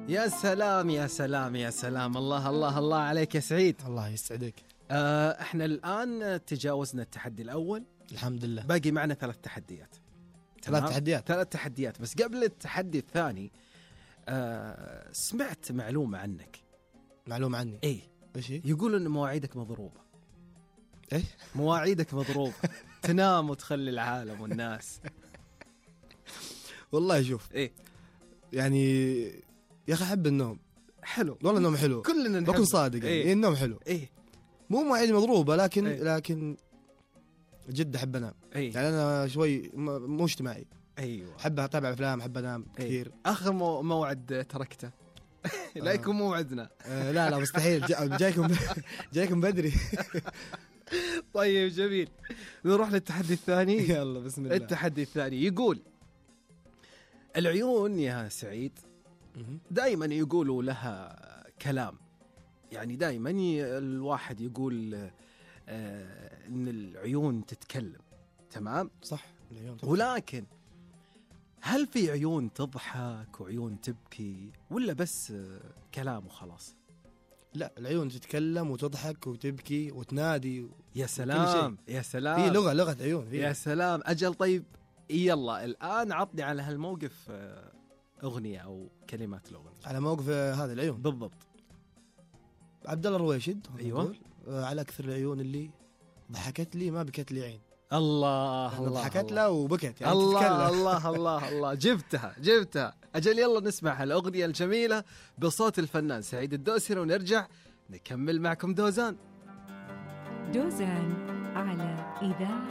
يا سلام يا سلام يا سلام، الله الله الله عليك يا سعيد. الله يسعدك. احنا الآن تجاوزنا التحدي الأول الحمد لله. باقي معنا 3 تحديات. 3 تحديات بس قبل التحدي الثاني سمعت معلومة عنك. معلومة عني؟ ايه ايش هي؟ يقول ان مواعيدك مضروبة. ايه مواعيدك مضروبة. تنام وتخلي العالم والناس. والله شوف ايه يعني يا اخي احب النوم. حلو والله النوم حلو، كلنا نحب. بكون صادق يعني. إيه؟ النوم حلو. ايه مو مواعيد مضروبة لكن إيه؟ لكن جد احب انام. ايه يعني انا شوي مو اجتماعي. ايوه احب اتابع افلام، احب انام كثير. اخر موعد تركته. لا يكون موعدنا. لا مستحيل. جايكم بدري. طيب جميل، نروح للتحدي الثاني. يلا بسم الله. التحدي الثاني يقول العيون يا سعيد دائما يقولوا لها كلام، يعني دائما الواحد يقول ان العيون تتكلم، تمام صح العيون. ولكن هل في عيون تضحك وعيون تبكي ولا بس كلام وخلاص؟ لا العيون تتكلم وتضحك وتبكي وتنادي. يا سلام يا سلام، في لغة عيون فيه. يا سلام أجل. طيب يلا الآن عطني على هالموقف أغنية أو كلمات الأغنية على موقف هذا العيون بالضبط. عبد الله الرويشد. أيوة. على أكثر العيون اللي ضحكت لي ما بكت لي عين. الله الله. الله ضحكت له وبكت يعني. الله تتكلم. الله الله الله جبتها. أجل يلا نسمع الأغنية الجميلة بصوت الفنان سعيد الدوسري ونرجع نكمل معكم دوزان على إذاعة